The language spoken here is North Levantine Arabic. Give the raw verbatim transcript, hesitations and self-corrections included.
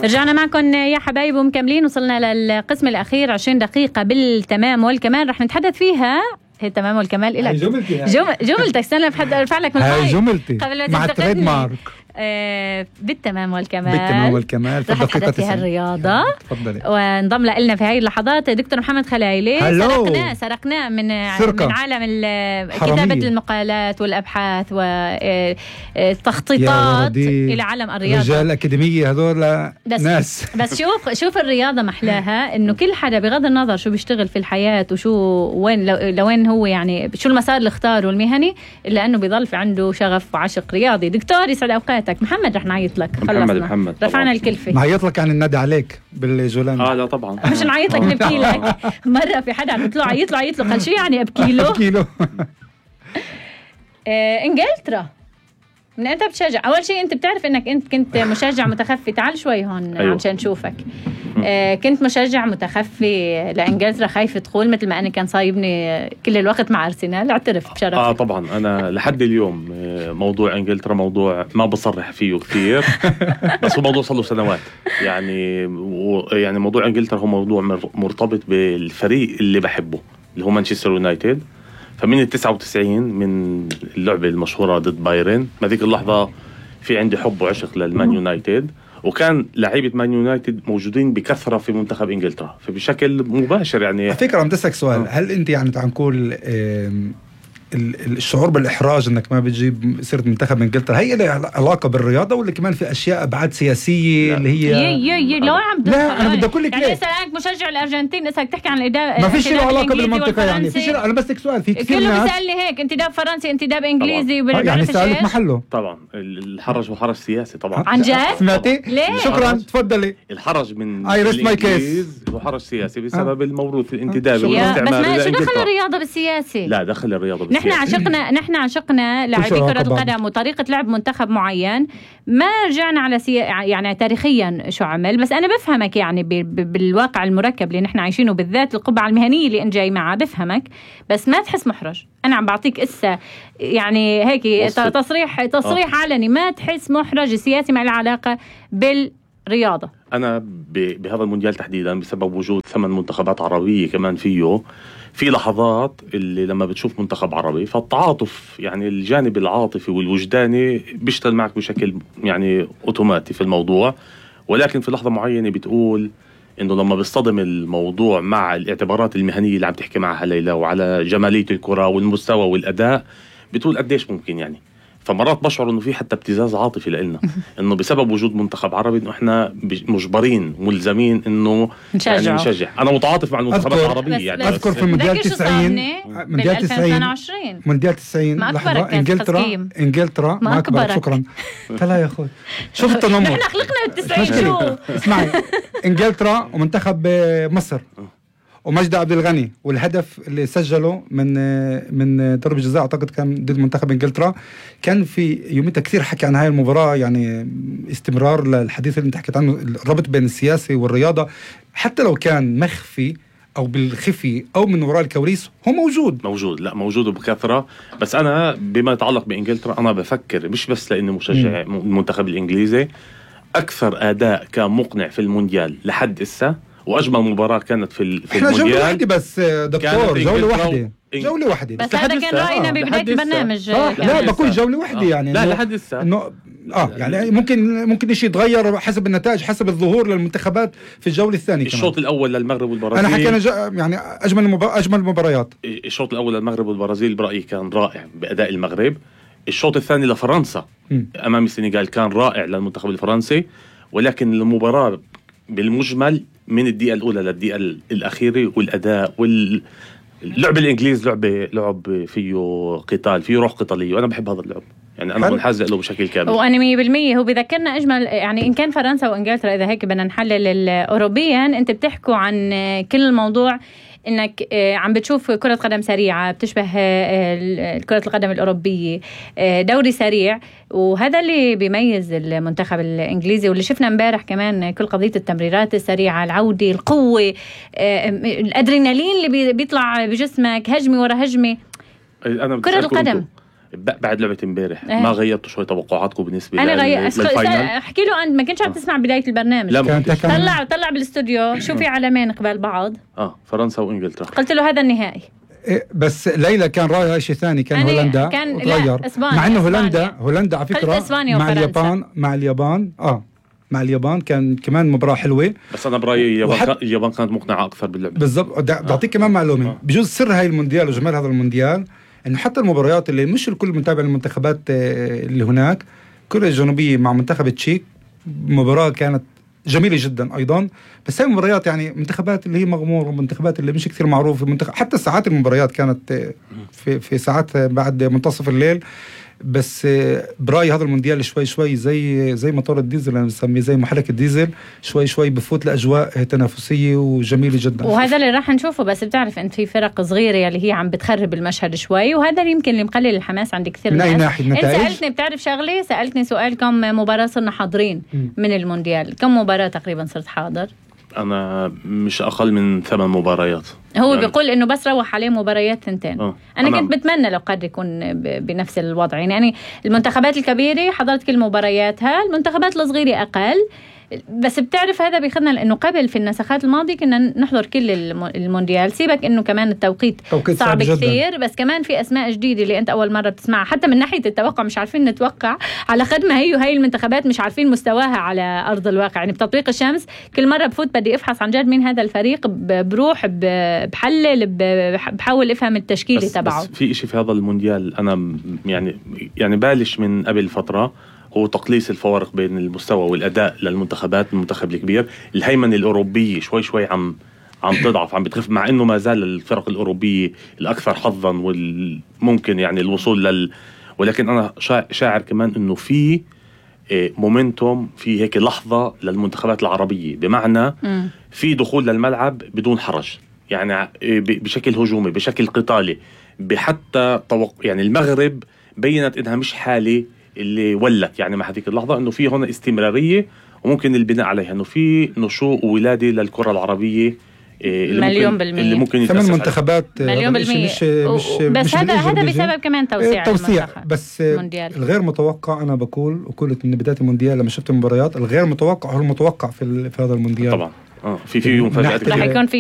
رجعنا معكم يا حبايب ومكملين. وصلنا للقسم الأخير عشرين دقيقة بالتمام والكمال رح نتحدث فيها. هي تمام والكمال إلك جملتي جم... جملتك استنى بحد أرفع لك من هاي جملتي مع التريد مارك. آه بالتمام والكمال بالتمام والكمال رح نتحدث فيها الرياضة. تفضلي. وانضم لنا في هاي اللحظات دكتور محمد خلايلي. سرقناه سرقناه من سرقة. من عالم كتابة المقالات والأبحاث والتخطيطات إلى عالم الرياضة. رجال الأكاديمية هذول بس ناس. بس شوف شوف الرياضة محلاها إنه كل حدا بغض النظر شو بيشتغل في الحياة وشو وين لوين هو يعني شو المسار اللي اختاره المهني إلا إنه بيضل في عنده شغف وعشق رياضي. دكتور يسعد أوقاتك. محمد رح نعيط لك. محمد محمد رفعنا الكلفة. نعيط لك عن النادي عليك بالجولان. اه لا طبعا مش نعيط لك نبكي لك. مرة في حدا عم يطلع عيط له عيط له قال شو يعني ابكي له؟ ابكي له. آه انجلترا من انت بتشجع؟ اول شيء انت بتعرف انك انت كنت مشجع متخفي. تعال شوي هون أيوة. عشان نشوفك. آه كنت مشجع متخفي لانجلترا خايف تقول مثل ما انا كان صايبني كل الوقت مع ارسنال. اعترف بشرف. اه طبعا انا لحد اليوم موضوع انجلترا موضوع ما بصرح فيه كثير بس هو موضوع صار له سنوات يعني و يعني موضوع انجلترا هو موضوع مرتبط بالفريق اللي بحبه اللي هو مانشستر يونايتد. فمن التسعة وتسعين من اللعبة المشهورة ضد بايرن ما ذيك اللحظة في عندي حب وعشق للمان يونايتد. وكان لعيبة مان يونايتد موجودين بكثرة في منتخب إنجلترا فبشكل مباشر يعني. على فكرة عم تسألك سؤال. هل أنت يعني تعال نقول الشعور بالإحراج أنك ما بتجيب سيرة منتخب إنجلترا هي لها علاقة بالرياضة ولا كمان في أشياء أبعاد سياسية لا. اللي هي يي يي لو عم لا أنا بدي أقول لك يعني اسألك مشجع الأرجنتين اسألك تحكي عن الإدارة ما فيش له علاقة بالمنطقة يعني فيش. أنا بس لك سؤال في كثير كله ناس بيسألني هيك انتداب فرنسي انتداب إنجليزي يعني سألك محله. طبعا الحرج وحرج سياسي طبعا. عن جد؟ سمعتي؟ شكرا تفضلي. الحرج من الإنجليز وحرج سياسي بسبب الموروث الانتدابي والاستعمار. بس ما شو دخل الرياضة بالسياسي؟ لا دخل الرياضة بالسياسي. نحن عشقنا نحن عشقنا لاعبي كرة القدم وطريقة لعب منتخب معين. ما رجعنا على سي... يعني تاريخيا شو عمل. بس أنا بفهمك يعني ب... ب... بالواقع المركب اللي نحن عايشينه بالذات القبعة المهنية اللي أنت جاي معها بفهمك. بس ما تحس محرج. أنا عم بعطيك إسا يعني هيك تصريح تصريح آه. علني ما تحس محرج سياسي ما له علاقة بالرياضة. أنا ب... بهذا المونديال تحديدا بسبب وجود ثمان منتخبات عربية كمان فيه في لحظات اللي لما بتشوف منتخب عربي فالتعاطف يعني الجانب العاطفي والوجداني بيشتغل معك بشكل يعني أوتوماتي في الموضوع. ولكن في لحظة معينة بتقول إنه لما بيصطدم الموضوع مع الاعتبارات المهنية اللي عم تحكي معها ليلى وعلى جمالية الكرة والمستوى والأداء بتقول قديش ممكن يعني. فمرات بشعر إنه في حتى ابتزاز عاطفي لإلنا إنه بسبب وجود منتخب عربي إنه إحنا مجبرين ملزمين إنه يعني نشجع. أنا متعاطف مع المنتخبات العربية يعني. أذكر في مونديال تسعين مونديال تسعين مونديال تسعين لحظة إنجلترا إنجلترا ما أكبر. شكرا لا يا أخوي شوف التنمر. نحن خلقنا بالتسعين شو اسمعي إنجلترا ومنتخب مصر ومجدي عبد الغني والهدف اللي سجله من من ضربة جزاء اعتقد كان ضد منتخب انجلترا. كان في يوميتها كثير حكي عن هاي المباراة يعني استمرار للحديث اللي انت حكيت عنه الربط بين السياسي والرياضة حتى لو كان مخفي او بالخفي او من وراء الكواليس هو موجود موجود لا موجود بكثرة. بس انا بما يتعلق بانجلترا انا بفكر مش بس لاني مشجع المنتخب الانجليزي اكثر اداء كان مقنع في المونديال لحد اسا واجمل مباراه كانت في في المونديال. جوله واحده بس دكتور جوله واحده جوله واحده بس, بس هذا كان راينا ببدايه البرنامج. لا بقول جوله واحده آه. يعني لا لحد لسه انه اه يعني ممكن ممكن شيء يتغير حسب النتائج حسب الظهور للمنتخبات في الجوله الثانيه. الشوط الاول للمغرب والبرازيل انا حكينا جا يعني اجمل المبا... اجمل المباريات. الشوط الاول للمغرب والبرازيل برايي كان رائع باداء المغرب. الشوط الثاني لفرنسا م. امام السنغال كان رائع للمنتخب الفرنسي. ولكن المباراه بالمجمل من الدقيقة الأولى للدقيقة الأخيرة والأداء واللعب الإنجليز لعبة لعب فيه قتال فيه روح قتالية وأنا بحب هذا اللعب يعني أنا منحاز له بشكل كامل. وأنا مية بالمية هو بذكرنا أجمل يعني إن كان فرنسا وإنجلترا إذا هيك بدنا نحلل أوروبيا أنت بتحكوا عن كل الموضوع إنك عم بتشوف كرة قدم سريعة بتشبه كرة القدم الأوروبية دوري سريع وهذا اللي بيميز المنتخب الإنجليزي واللي شفنا امبارح كمان كل قضية التمريرات السريعة العودة القوة الأدرينالين اللي بيطلع بجسمك هجمة ورا هجمة. أنا كرة القدم بعد لعبة امبارح إيه. ما غيرتوا شوي توقعاتكم بالنسبة انا غير للفاينل؟ احكي له انت ما كنتش عم تسمع بداية البرنامج. لا كان كان طلع طلع بالاستوديو شو في علمين قبال بعض. اه فرنسا وانجلترا. قلت له هذا النهائي. إيه، بس ليلى كان رايها شيء ثاني، كان أنا هولندا كان- لا، وتغير. إسبانيا، مع انه إسبانيا. هولندا هولندا على قلت فكره إسبانيا مع وفرنسا. اليابان مع اليابان اه مع اليابان كان كمان مباراة حلوة. بس انا برايي اليابان وحت- كان- اليابان كانت مقنعة اكثر باللعبة. بالضبط. بدي بعطيك كمان معلومة. آه. بجوز سر هاي المونديال وجمال هذا المونديال انه حتى المباريات اللي مش الكل متابع المنتخبات آه، اللي هناك، كوريا الجنوبية مع منتخب التشيك مباراة كانت جميلة جدا أيضا. بس هاي المباريات يعني منتخبات اللي هي مغمورة، منتخبات اللي مش كثير معروفة، منتخب حتى ساعات المباريات كانت آه، في في ساعات بعد منتصف الليل. بس آه، برايي هذا المونديال شوي شوي زي زي موتور الديزل، انا بسميه زي محرك الديزل، شوي شوي بفوت لاجواء تنافسيه وجميله جدا. وهذا اللي راح نشوفه. بس بتعرف انت في فرق صغيره اللي هي عم بتخرب المشهد شوي، وهذا اللي يمكن اللي مقلل الحماس عند كثير من ناس. اي ناحيه؟ انت النتائج. سالتني بتعرف شغله، سالتني سؤال كم مباراه صرنا حاضرين من المونديال، كم مباراه تقريبا صرت حاضر؟ انا مش اقل من ثمان مباريات. هو يعني بيقول انه بس روح عليه مباريات ثنتين. آه. انا أنا كنت بتمنى لو قد يكون ب- بنفس الوضع. يعني, يعني المنتخبات الكبيره حضرت كل مبارياتها، المنتخبات الصغيره اقل. بس بتعرف هذا بيخدنا لانه قبل في النسخات الماضيه كنا نحضر كل الم- المونديال. سيبك انه كمان التوقيت توقيت صعب صعب كثير، بس كمان في اسماء جديده اللي انت اول مره بتسمعها. حتى من ناحيه التوقع مش عارفين نتوقع على قد ما هي وهي المنتخبات مش عارفين مستواها على ارض الواقع. يعني بتطبيق الشمس كل مره بفوت بدي افحص عن جد مين هذا الفريق، ب- بروح ب- بحلل ب- بحاول افهم التشكيله بس, تبعه. بس في إشي في هذا المونديال أنا م- يعني يعني بالش من قبل فترة، هو تقليص الفوارق بين المستوى والأداء للمنتخبات. المنتخب الكبير الهيمنة الأوروبية شوي شوي عم عم تضعف، عم بتخف، مع إنه ما زال الفرق الأوروبية الأكثر حظا والممكن يعني الوصول لل، ولكن أنا شا- شاعر كمان إنه في إيه، مومنتوم، في هيك لحظة للمنتخبات العربية، بمعنى مم. في دخول للملعب بدون حرج، يعني ع- إيه، ب- بشكل هجومي، بشكل قتالي، بحتى طوق يعني المغرب بينت إنها مش حالة اللي ولت يعني مع هذيك اللحظة، إنه في هنا استمرارية وممكن البناء عليها، إنه في نشوء وولادة للكرة العربية إيه، اللي مليون ممكن بالمية. اللي ممكن ثمان يتأسس منتخبات مليون هذا الشيء بالمية. مش مش و- بس مش هذا بالإيجاب هذا بيجي. بسبب كمان توسيع توسيع. المنتخب. بس المونديال. الغير متوقع، انا بقول وقلت من بدايه المونديال لما شفت المباريات، الغير متوقع هو المتوقع في ال- في هذا المونديال طبعا. آه في في مفاجآت نحكي- رح كثيرة. يكون في